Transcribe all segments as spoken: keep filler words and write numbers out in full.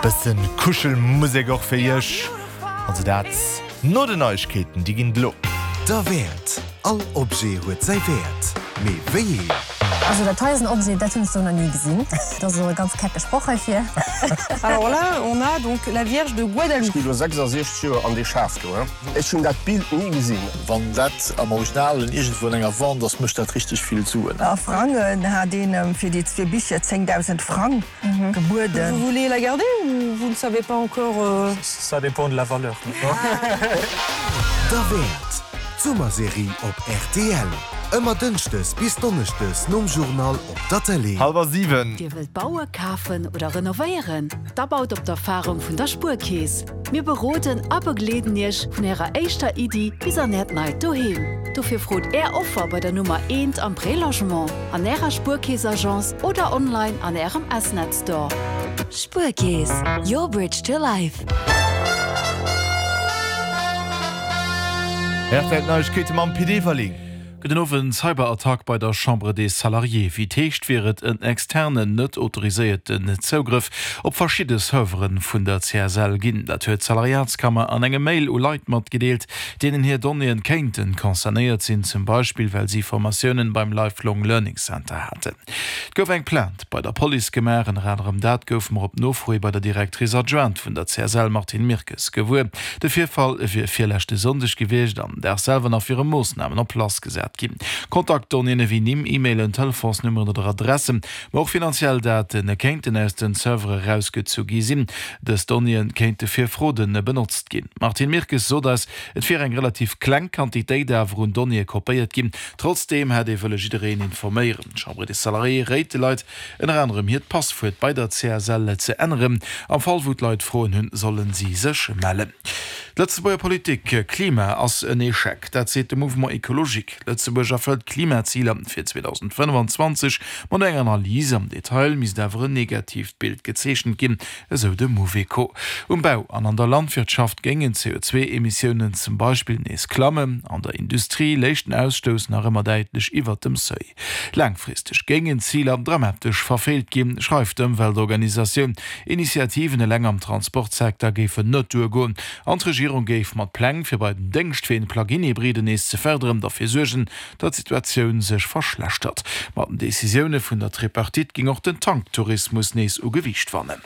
Bëssen Kuschelmusek och fir iech. Also dat no den Neiegkeeten, déi ginn et elo. Derwäert, All Objet huet säi Wäert, mee wéi een? Also dat hei ass en Objet, dat hunn ech sou nach ni gesinn. Dat ass och e ganz kecke Sproch heifir. Alors là, on a donc la Vierge de Guadalupe. Ech gi lo sechsasechzeg Joer an dee Schaf do, he. Ech hunn dat Bild ni gesinn. Wann dat am Originalen iergendwou an enger Wand ass, mécht dat richteg vill Suen. A Frangen hat een em fir déi zwee Bicher zéngdausend Frang gebueden. Vous voulez la garder ou vous ne savez pas encore? Ça dépend de la valeur. Derwäert, D'Summerserie op rtl, ëmmer dënschdes bis donneschdes nom Journal op der Tëlee. Hallwer siwen. Dir wëllt baue, kafen oder renovéieren? Da baut op d'Erfarung vun der Spuerkeess. Mir beroden a begleeden Iech vun Ärer éischter Iddi bis an Äert neit Doheem. Dofir frot Är Offer bei der Nummer eent am Prélogement, an Ärer Spuerkeess-Agence oder online an Ärem S-Net Store. Spuerkeess, your bridge to life. R T L Neiegkeete mam Pit Everling. Gudden Owend. Cyberattack bei der Chambre des Salariés, Wéi et heescht, wier et en externen, net autoriséierten Zougrëff op verschidde Servere vun der C S L ginn. Dat huet d'Salariatskammer an engem Mail u Leit matgedeelt, deenen hir Donnéeën kéinten concernéiert sinn, zum Beispill well si Formatiounen beim Lifelong Learning Center haten. Et gouf eng Plainte bei der Police gemaach. Ënner anerem dat goufe mer op Nofro hi bei der Directrice adjointe vun der C S L Martine Mirkes gewuer. De Virfall wier virleschte Sonndeg gewiescht. Am Dag selwer nach wiere Moossnamen en place gesat ginn. Kontaktdonnéeën ewéi Nimm, E-Mailen, Telefonsnummeren oder Adressen, ma och finanziell Date kéinten aus den Servere erausgezu gi sinn. Dës Donnéeë kéinte fir Fraude benotzt ginn. D'Martine Mirkes sot eis, et wier eng relativ kleng Quantitéit awer un Donnéeë kopéiert ginn. Trotzdeem hätt ee wëlle jiddereen informéieren. D'Chambre des Salariés réit de Leit ënner anerem hiert Passwuert bei der C S L ze änneren. Am Fall wou d'Leit Froen hunn, solle si sech mellen. D'Lëtzebuerger Politik, Klima ass en Echec, dat seet de Mouvement Ecologique. Lëtzebuerg erfëllt d'Klimaziler fir zweedausendfënnefanzwanzeg ma no enger Analys am Detail misst awer en negatiivt Bild gezeechent ginn, esou de Mouveco. Um Bau an an der Landwirtschaft géingen d'C O zwee Emissiounen zum Beispill nees klammen, an der Industrie léich den Ausstouss nach ëmmer däitlech iwwert dem Seuil. Laangfristeg géingen d'Ziler dramatesch verfeelt ginn, schreift d'Ëmweltorganisatioun. Initiativen eleng am Transportsecteur géifen net duergoen an d'Regierung géif mat Pläng, fir bei den Déngschtween Plug-in-Hybriden nees ze fërderen, derfir suergen, datt d'Situatioun sech verschlechtert. Mat den Decisioune vun der Tripartite géing och den Tanktourismus nees u Gewiicht wannen.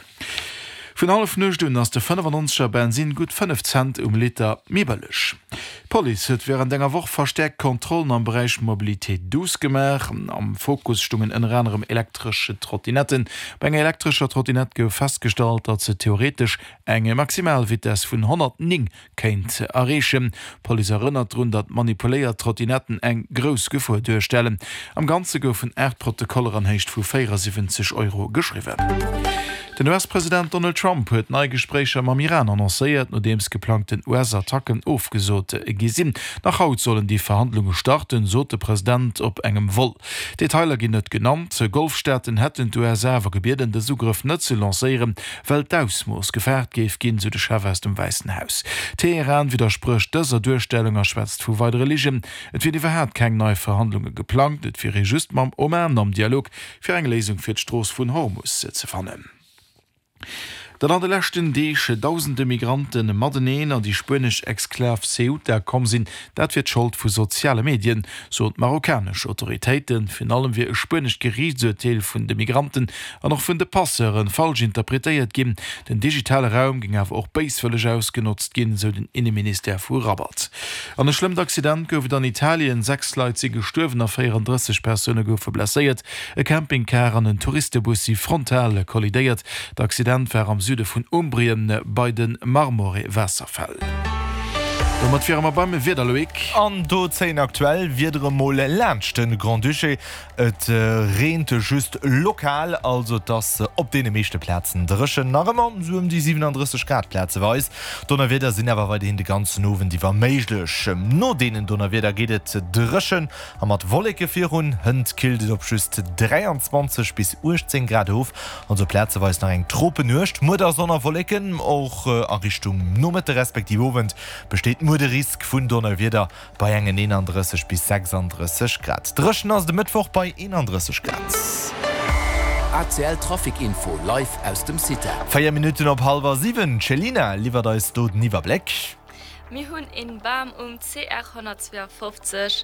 Vun Hallefnuecht un ass de fënnefannonzeger Bensinn gutt fënnef Cent um Liter méi bëlleg. D'Police huet wärend enger Woch verstäerkt Kontrollen am Beräich Mobilité douce gemaach. Am Fokus stungen ënner anerem elektresch Trottinetten. Bei enger elektrescher Trottinett gouf festgestallt, datt se theoretesch eng Maximalvitess vun honnertnéng kéint erreechen. D'Police erënnert drun, datt manipuléiert Trottinetten eng grouss Gefor duerstellen. Am Ganze goufen aacht Protokoller an Héicht vu véierasiwwenzeg Euro geschriwwen. Den U S-President Donald Trump huet nei Gespréicher mam Iran annoncéiert, nodeems geplangten U S-Attacken ofgesot gi sinn. Nach haut sollen déi Verhandlunge starten, sot de President op engem Vol. Detailer ginn net genannt. Golfstaaten hätten d'U S A awer gebieden, dës Ugrëff net ze lancéieren, well d'Ausmooss gefaart géif ginn, sou de Chef aus dem Wäissen Haus. Teheran widdersprécht dëser Duerstellung a schwätzt vu weidere Ligen. Et wieren iwwerhaapt keng nei Verhandlunge geplangt, et wier ee just mam Oman am Dialog, fir eng Léisung fir d'Strooss vun Hormus ze fannen. Datt an de leschten Deeg dausende Migrante mateneen an déi spuenesch Exklav Ceuta komm sinn, dat wier d'Schold vu soziale Medien, soen d'marokkanesch Autoritéiten. Virun allem wier e spuenescht Geriichtsurteel vun de Migranten an och vun de Passeuren falsch interpretéiert ginn. Den digitale Raum géing awer och béiswëlleg ausgenotzt ginn, sou den Inneministère vu Rabat. An e schlëmmt Accident gouf et an Italien, Sechs Leit si gestuerwen a véierandrësseg Persoune goufe blesséiert. E Campingcar an en Touristebus si frontal kollidéiert. D'Accident war am Süde vun Umbrien bei de Marmore-Waasserfäll. Domat wiere mer beim Wieder, Loïc. An do zéien aktuell Wiedere mol laanscht de Grand-Duché. Et reent just lokal, also et ass op deene meeschte Plazen dréchen, nach ëmmer sou ëm déi siwenandrësseg Grad plazeweis. Donnerwieder sinn awer weiderhin de ganzen Owend iwwer méiglech. No deenen Donnerwieder geet et dréchen a mat Wolleke virun. Hënt killt et op just dräianzwanzeg bis uechtzéng Grad of, also plazeweis nach eng Tropennuecht. Muer da Sonn a Wolleken, och a Richtung Nomëtte respektiv Owend besteet muer de Risk vun Donnerwieder bei engen eenandrësseg bis sechsandrësseg Grad. Dréchen ass et e Mëttwoch bei eenandrësseg Grad. A C L Trafic Info live aus dem CITA. Véier Minutten op hallwer siwen, D'Chelina liwwert eis do den Iwwerbléck. Mir hunn een Bam um C R honnertzweeafofzeg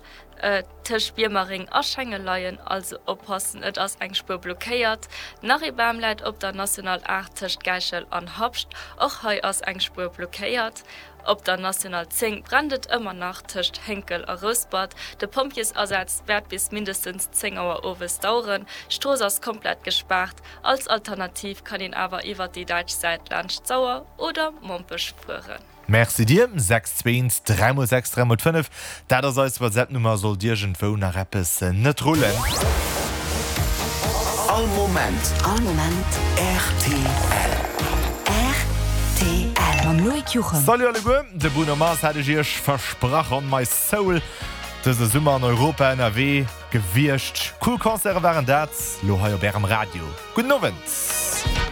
tëscht Biermereng a Schengen leien, also oppassen, et ass eng Spuer blockéiert. Nach ee Bam läit op der National aacht tëscht Gäichel an Habscht, och hei ass eng Spuer blockéiert. Op der National zéng brennt et ëmmer nach tëscht Hénkel a Rouspert. De Pompjeesasaz wäert bis mindestens zéng Auer owes daueren. D'Strooss ass komplett gespaart. Als Alternativ kann een awer iwwert déi däitsch Säit laanscht d'Sauer oder Mompech fueren. Merci dir. Sechs zwee eent dräi mol sechs dräi mol fënnef, dat ass eis WhatsApp-Nummer, sollt iergendwou nach eppes net rullen. All Moment. All Moment. Rtl. Rtl. Mam Loïc Juchem. Salut alleguer, de Bruno Mars hat ech iech versprach, On My Soul, dëse Summer an Europa ënnerwee gewiescht. Cool Concerte waren dat, lo hei op ärem Radio. Gudden Owend.